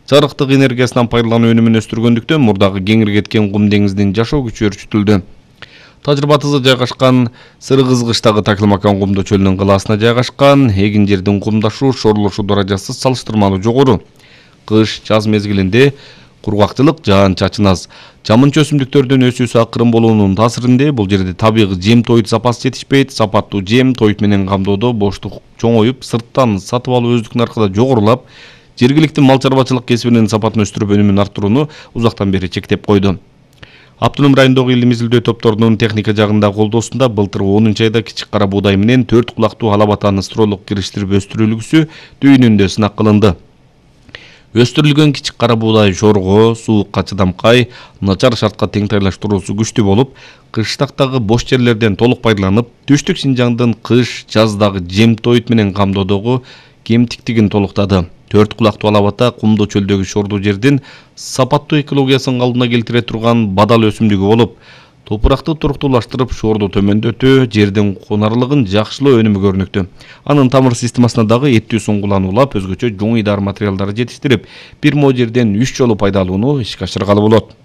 жарыктык энергиясынан пайдалануу өнүмүн өстүргөндүктөн мурдагы кеңири кеткен Кум деңизинин жашоо күчү өрчүтүлдү. Тажрыйбатызы жайгашкан Сыргызгычтагы Такылмакан кумдоо чөлүнүн кылаасына жайгашкан эгин жердин кумдашуу, шорулушу даражасы салыштырмалуу жогору. Кыш, жаз мезгилинде кургакчылык, жаан-чачын аз. Жамынча өсүмдүктөрдүн өсүүсү акырын болуунун таасиринде бул жерде табигый жем тоют запасы жетишпейт. Сапаттуу жем тоют менен камдоодо боштук чоңоюп, сырттан сатып алуу өздүк наркы да жогорулап, жергиликтүү мал чарбачылык кесибинин сапатын өстүрүп өнүмүн арттырууну узактан бери чектеп койду. Автоном райондогу илим изилдөө топторунун техника жагында колдоосунда былтыр 10 айда кичик кара буудай менен 4 кулактуу алабатаны стролук кириштирип өстүрүлгүсү дүйүнүндө сынак кылынды. Өстүрүлгөн кичик кара буудай жорго, суукка чыдамкай, начар шартка теңтайлаштыруусу күчтүү болуп, кыштактагы бош жерлерден толук пайдаланып, түштүк Синжаңдын кыш, жаздагы жем тоют менен камдоодогу кемтиктигин толуктады. 4 кулактуу алабата кумдуу чөлдөгү шордуу жердин сапаттуу экологиясын калыбына келтире турган бадал өсүмдүгү болуп, топуракты туруктуулаштырып, шорду төмөндөтүү, жердин кунарлыгын жакшылоо өнүмү көрүнүктүү. Анын тамыр системасына дагы эттүү суңгуланы улап, өзгөчө жоң идар материалдарды жетиштирип, бир мо жерден 3 жолу пайдаланууну ишке ашыргалы болот.